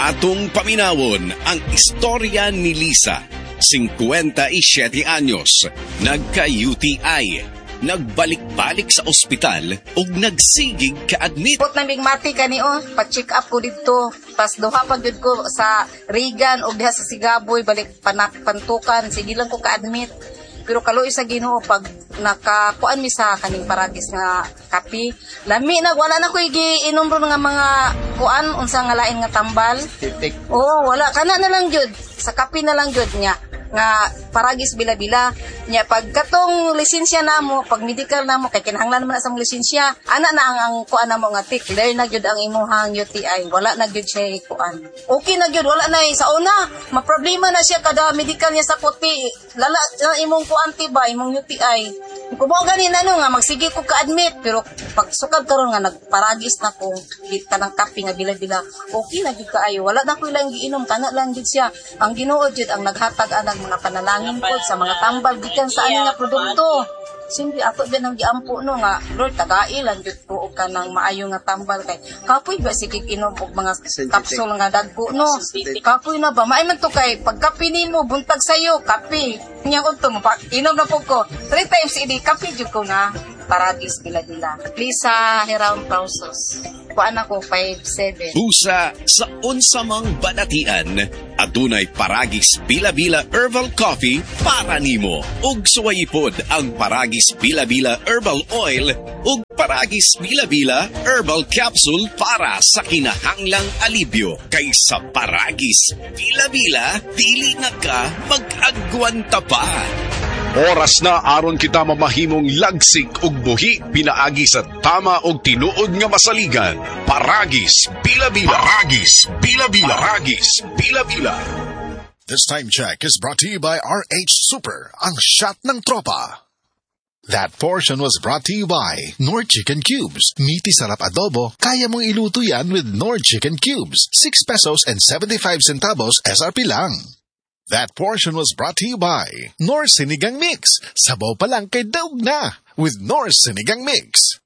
Atong paminawon ang istorya ni Lisa, 57 anyos, nagka-UTI, nagbalik-balik sa ospital ug nagsigig ka-admit. Put na migmati kani oh, pa-check up ko didto. Pas duha pa gyud ko sa Regan og diha sa Sigaboy, balik panak pantukan, sige lang ko ka-admit. Pero kaluoy sa Ginoo, pag nakakuan mi sa kaning Paragis nga kape, lami na, wala na ko giinom ron nga mga kuan, unsa nga lain nga tambal. Oo, wala kana na lang gyud. Sa kape na lang gyud niya nga Paragis Bila-bila nya. Pag katong lisensya namo, pag medical namo, kay kinahanglan man na sa mong lisensya, ana na ang kuan namo nga tick, clear na gyud ang imuhang UTI, wala na gyud siya kuan, okay na gyud, wala na eh. Sa una maproblema na siya kada medical niya sa puti, lala na imong kuan ti ba, imong UTI. Kung mo gani na no nga magsige ko ka-admit, pero pag sukad karon nga nagparagis na ko kanang kape nga bila-bila, okay na gyud kaayo, wala na ko ilang giinom, kana lang gyud siya. Ang Ginoo gyud ang naghatag anang mga panalangin ko sa mga tambal gikan sa ani nga produkto. Siyempre, ato ba nang giampo no nga, "Lord, tagai lang gyud ko og kanang maayo nga tambal," kay kapoy ba sige inom og mga kapsul nga dagko no. Kapoy na ba maay man to, kay pag kape nimo buntag sayo kape nya udto mo pa inom na pud ko three times a day, kape jud ko nga Paragis Bila-bila. Lisa Hiram Pausos. Kuan ako 5'7". Busa sa unsa mang balatian, adunay Paragis Bila-Bila Herbal Coffee para nimo. Ug suwayi pod ang Paragis Bila-Bila Herbal Oil ug Paragis Bila-Bila Herbal Capsule para sa kinahanglang alibyo. Kay sa Paragis Bila-Bila, dili na ka mag-agwanta pa. Oras na aron kita mamahimong lagsik ug buhi pinaagi sa tama ug tinuod nga masaligan. Paragis Bila-Bila. Paragis Bila-Bila. Paragis Bila-Bila. This time check is brought to you by RH Super, ang shot ng tropa. That portion was brought to you by Knorr Chicken Cubes. Meaty sarap adobo, kaya mong iluto yan with Knorr Chicken Cubes. ₱6.75 SRP lang. That portion was brought to you by Knorr Sinigang Mix. Sabaw pa lang kay daog na with Knorr Sinigang Mix.